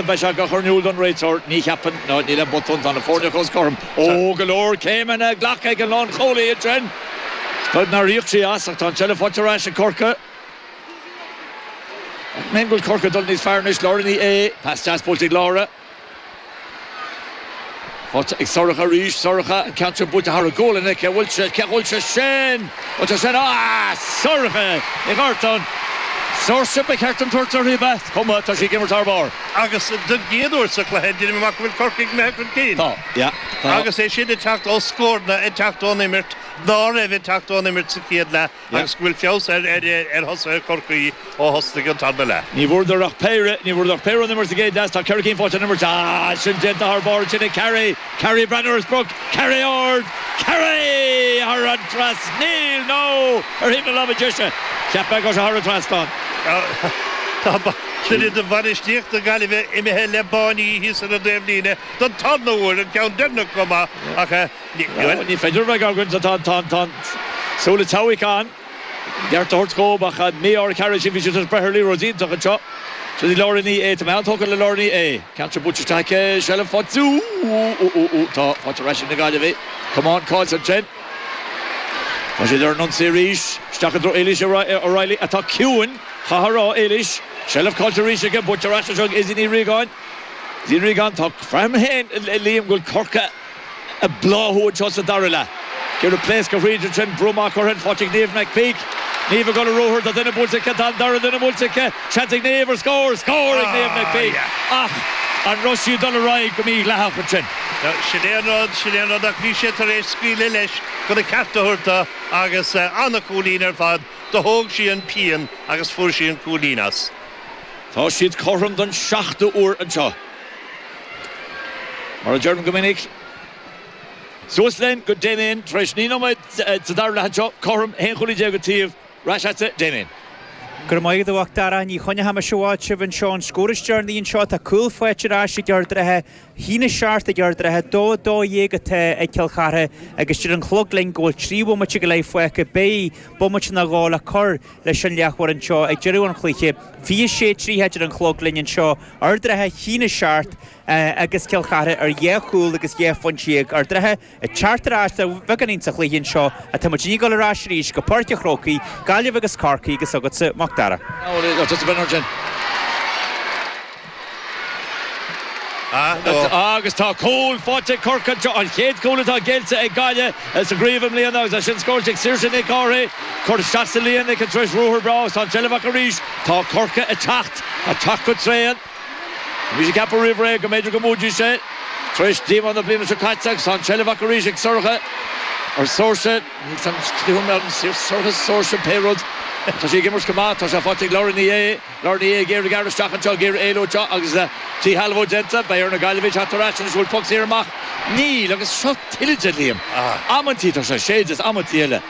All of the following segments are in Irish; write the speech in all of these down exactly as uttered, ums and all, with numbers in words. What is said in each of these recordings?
Beidh sé á chur in iúl don réiteoir, ní cheapaim, ná níl aon botún, tá na foirne chomh cothrom. Ó, go leor céimeanna glactha ag an lánchúlaí ansin. Is nár íoc sí as ach tá an tseilbh faighte ar ais ag Corcaigh. Mé go bhfuil Corcaigh dul níos fearr anois, Laura Ní Aodha, pas deas buailte ag Laura. Faighte ag Sorcha arís, Sorcha, an ceann sin buailte thar a gualainn aici, bhfuil sé, cé bhfuil sé sin? Bhfuil sé sin? Ah! Sorcha Ní Ghartáin! Saoirse ba cheart dom tabhairt uirthi, ab ea? Cuma, tá sí ag imirt thar barr. Agus don gcéad uair sa chluiche, deinim amach go bhfuil Corcaigh imithe chun cinn. Tá, yeah, tá. Agus é sin ag teacht ó scóranna, ag teacht ón imirt, ná raibh ag teacht ón imirt sa chéad leath agus go bhfuil feabhas ar ar thosaithe Chorcaí ó thosnaigh an tarna leath. Ní bhfuaireadar ach péire, ní bhfuaireadar ach péire ón imirt sa gcéad leath, tá ceithre cinn faighte ón imirt. Ah, sin déanta thar barr ansin ag Carey. Carey ag breathnú ar a sprioc, Carey ard, Carey thar an trasnaíl, nó ar thaobh na láimhe deise. Cheap mé go raibh sé thar an trasnán. Tá duine de bhainistíocht na Gaillimhe imithe le báiní thíos ar an dtaobhlíne don tarna huair, an ceann deireanach chomh maith, ach ní. Ní féidir a bheith againn, tá tá tá an súil ag teabhaidh ann. Ceart a thabhairt dhób ach mí-ádh ar Carey sin, bhí siad tar éis breith ar liathróid iontach anseo. Sin í Laura Ní Aodha, tá mé an-tógtha le Laura Ní Aodha. Ceann sin buailte isteach aici, seilbh faighte, ú ú ú ú tá faighte ar ais ag na Gaillimhigh. Camán caillte ansin. Tá siad ar an ionsaí arís, isteach i dtreo Éilís O'Reilly atá ciúin, chaithfeá a rá, Éilís. Seilbh caillte arís aici, buailte ar ais anseo ag Izzy Ní Riagáin. Izzy Ní Riagáin, tá, braithim féin, Liam, go bhfuil Corcaigh ag bláthú anseo sa dara leath. Ag iarraidh pléascadh thríd ansin, brú amach curtha faighte ag Niamh McPeak. Niamh ag dul ar ruathar, tá duine buailte aici, tá an dara duine buailte aici, seans ag Niamh ar scór, scór ag Niamh McPeak! Ach an raibh sí ag dul ar aghaidh go mídhleathach ansin? Sin é an rud, sin é an rud, ach bhí sé tar éis scaoileadh leis chun a ceart a thabhairt do agus an-chúilín ar fad, do thóg sí an pian agus fuair sí an cúilín as. Tá siad cothrom don seachtú huair anseo. Mar a deirim go minic, suas linn go Damien tar éis naoi nóiméad sa dara leath anseo, cothrom, aon chúilín déag an taobh, ar ais agatsa, Damien. Go raibh maith agat a Mhac Dara. Ní choinneoidh mise i bhfad sibh anseo. An scór is deireanaí anseo, tá cúl faighte ar ais ag Ard an Rátha, a haon a seacht ag Ard an Rátha, dó a dó dhéag atá ag Cill Chartha agus deir an clog linn go bhfuil trí bhomaite go leith fágtha. Beidh bomaite nó dhó le cur leis an leathuair anseo ag deireadh an chluiche. Fiche sé tríocha a deir an clog linn anseo. Ard an Rátha a haon a seacht agus Cill Chartha ar dhá chúl agus dhá phointe dhéag. Ard an Rátha ag teacht ar ais de bheagáinín sa chluiche anseo ach tá muid ag dul ar ais arís go Páirc an Chrócaigh, Gaillimh agus Corcaigh agus agatsa Mac Dara. Agus tá cúl faighte ag Corcaigh anseo, an chéad chúl atá géillte ag Gaillimh sa gcraobh i mbliana agus é sin scóráilte ag Saoirse Nic Cárthaigh. Curtha isteach sa líon aici tar éis ruathar breá agus tá an tseilbh acu arís. Tá Corcaigh ag teacht, ag teacht go tréan. Bhí mise ag ceapadh roimh ré go mb'fhéidir go mbuafaidís é tar éis díomá na bliana seo caite agus tá an tseilbh acu arís ag Sorcha, or Saoirse, níl 'fhios a'm, Sorcha, Saoirse, pé rud. Tá sí ag imirt go maith, tá sé faighte ag Laura Ní Aodha, Laura Ní Aodha ag iarraidh gearradh isteach anseo, ag iarraidh éalú anseo agus díshealbhú déanta. Beidh ar na Gaillimhigh teacht ar ais anois, bhfuil poc saor amach? Níl, agus seo tuilleadh de, Liam. Amantaí tá sé séidte is amantaí eile.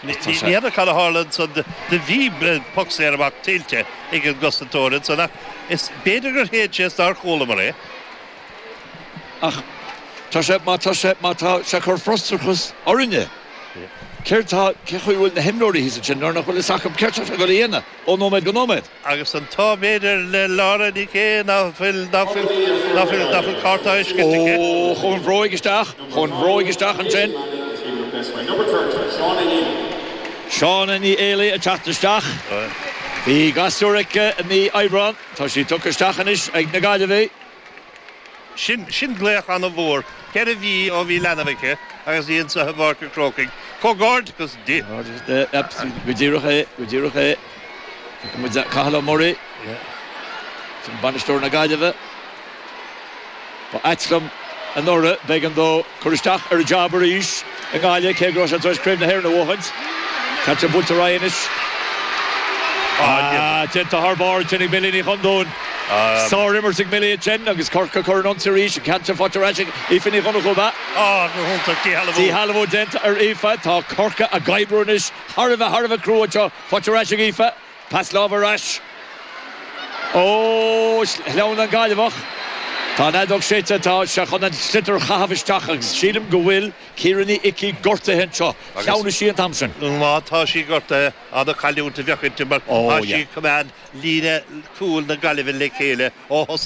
Ní fheadar cad a tharla ansan, do bhí poc saor amach tuillte ag an gcosantóir ansan ach is b'fhéidir gur shéid sé is nár chualamar é. Ach tá sé, má tá sé, má tá sé ag cur frustrachas orainne, céard tá, cén chaoi a bhfuil na himreoirí thíos ansin nuair nach bhfuil fhios acu céard tá sé ag dul a dhéanamh ó nóiméad go nóiméad? Agus an t-ádh b'fhéidir le Laura Nic Aodha ná fuil, ná fuil, ná fuil, ná fuil cárta á fheiscint aici. Ó, chuaigh an bhróig isteach, chuaigh an bhróig isteach ansin. Shauna Ní Éalaí ag teacht isteach. Bhí gasúr aici i mí Aibreán. Tá sí tugtha isteach anois ag na Gaillimhigh. Sin, sin glaoch an-mhór. Ceithre mhí ó bhí leanbh aici agus í anseo i bPáirc an Chrócaigh. Comhghairdeachas di! Go díreach é, go díreach é. Feiceann muid Cathal Ó Muirí, sin bainisteoir na Gaillimhe. Ba ait liom anuraidh, b'éigean dó cur isteach ar an jab arís i nGaillimh, cé go raibh sé tar éis Craobh na hÉireann a bhuachaint. Ceann sin buailte ar aghaidh anois. Ah, déanta thar barr ansin ag Millie Ní Chondúin. Sár-imirt ag Millie ansin agus Corcaigh ag cur an ionsaí arís. An ceann sin faighte ar ais ag Aoife Ní Dhonnchú, ab ea? Ah, go hiontach, díshealbhú. Díshealbhú déanta ar Aoife. Tá Corcaigh ag oibriú anois thar a bheith, thar a bheith crua anseo. Faighte ar ais ag Aoife. Pas láimhe ar ais. Ó, shleamhnaigh an Gaillimheach. Tá an fheadóg séidte tá sé chun an sliotar a chaitheamh isteach agus sílim go bhfuil Ciara Ní Icí gortaithe anseo. Cheann sí an t-am sin. Má tá sí gortaithe an-chailliúint a bheadh inti mar tá sí ag coimeád líne cúil na Gaillimhe le chéile ó thosnaigh